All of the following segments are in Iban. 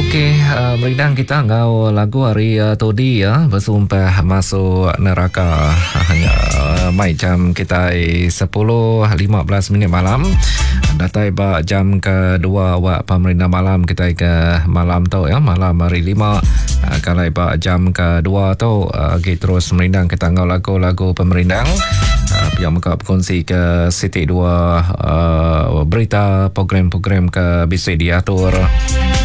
Okey, uh, merindang kita enggau lagu hari uh, todi ya, bersumpah masuk neraka. Hanya uh, mai jam kita 10.15 minit malam. Datai ba jam kedua awak pemerintah malam kita ke malam tu ya, malam hari 5. Uh, kalau ba jam kedua tu uh, kita terus merindang kita enggau lagu-lagu pemerindang. Uh, pihak muka berkongsi ke siti dua uh, berita program-program ke bisi diatur.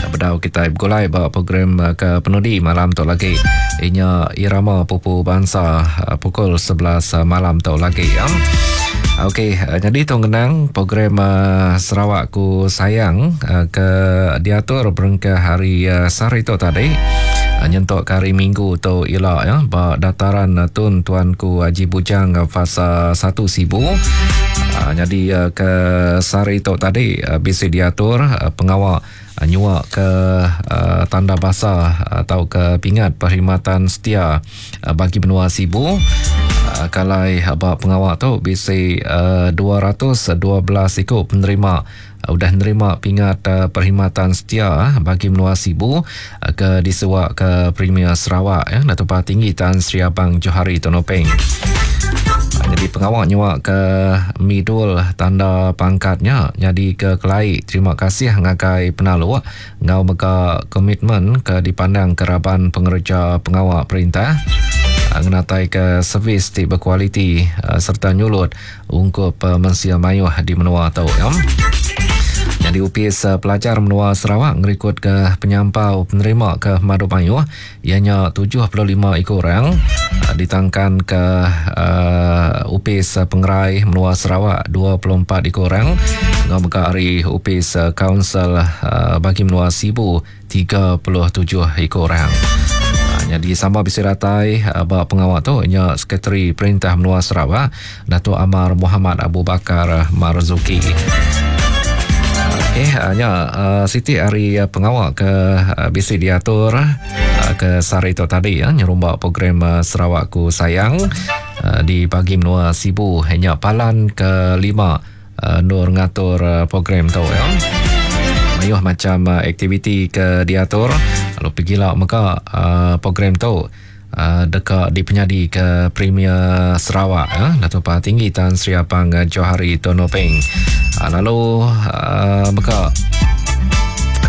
Bedau kita begulai ba program ke penudi malam tu lagi. Inya irama pupu bangsa pukul 11 malam tu lagi. Ya. Okey, jadi tu ngenang program Sarawak Ku Sayang ke diatur berengkah hari sehari tu tadi. Nyentuk ke hari Minggu tu ila ya ba dataran Tun Tuanku Haji Bujang fasa 1 Sibu. Jadi ke sehari tu tadi bisi diatur pengawa nyua ke tanda basa atau ke pingat perkhidmatan setia bagi menua Sibu. Kalai ba pengawa tu bisi 212 iku penerima udah nerima pingat perkhidmatan setia bagi menua Sibu ke disuwa ke Premier Sarawak ya Datuk Patinggi Tan Sri Abang Johari Tun Openg. Jadi pengawa nyua ke midul tanda pangkatnya nyadi ke kelai terima kasih ngagai penaluk enggau mega komitmen ke dipandang ke raban pengereja pengawa perintah ngenatai ke servis ti bekualiti sereta nyulut ungkup mensia mayuh di menua tu. Ya. Nyadi Opis Pelajar Menua Sarawak ngerikutka penyampau penerima ke pemadu mayuh iya nya 75 iku orang ditangkan ke uh, Opis Pengerai Menua Sarawak 24 iku orang enggau mega ari Opis Kaunsil uh, Bagi Menua Sibu 37 iku orang. Nyadi sama bisi datai ba pengawa tu nya Sekretari Perintah Menua Sarawak Datuk Amar Mohamad Abu Bakar Marzuki. Okey, nya siti ari pengawa ke bisi diatur ke sehari tu tadi ya nyerumba program Sarawakku Sayang di bagi menua Sibu nya palan ke lima endur ngatur program tu ya. Mayuh macam aktiviti ke diatur lalu pegila mega program tu deka dipenyadi ke Premier Sarawak ya Datuk Patinggi Tan Sri Apang Johari Tun Openg. Lalu mega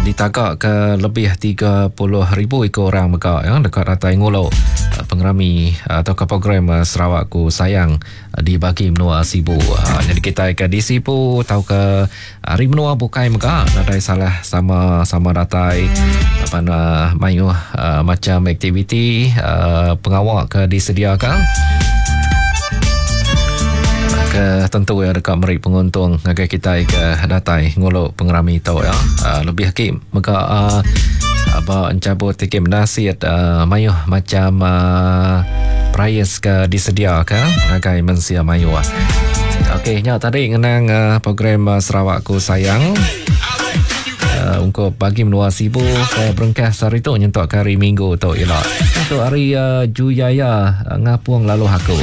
ditaga ke lebih 30,000 iku orang mega ya deka datai ngulu pengerami atau ke program Sarawakku Sayang di bagi menua Sibu. Ha, jadi kita ke di Sibu atau ke hari menua bukai mega nadai salah sama-sama datai apa na mayuh uh, macam aktiviti uh, pengawa ke disediakan ke tentu ya deka meri penguntung ngagai kita ke datai ngulu pengerami tu ya. Uh, lebih agi mega uh, ba encabut tiket menasit uh, mayuh macam uh, prize ke disediaka ngagai mensia mayuh. Okey, nya tadi ngenang uh, program uh, Sarawakku Sayang. Uh, ungkup bagi menua Sibu ke berengkah sehari tu nyentuk ke hari Minggu tu ila. Tu hari uh, Juyaya uh, ngapung lalu aku.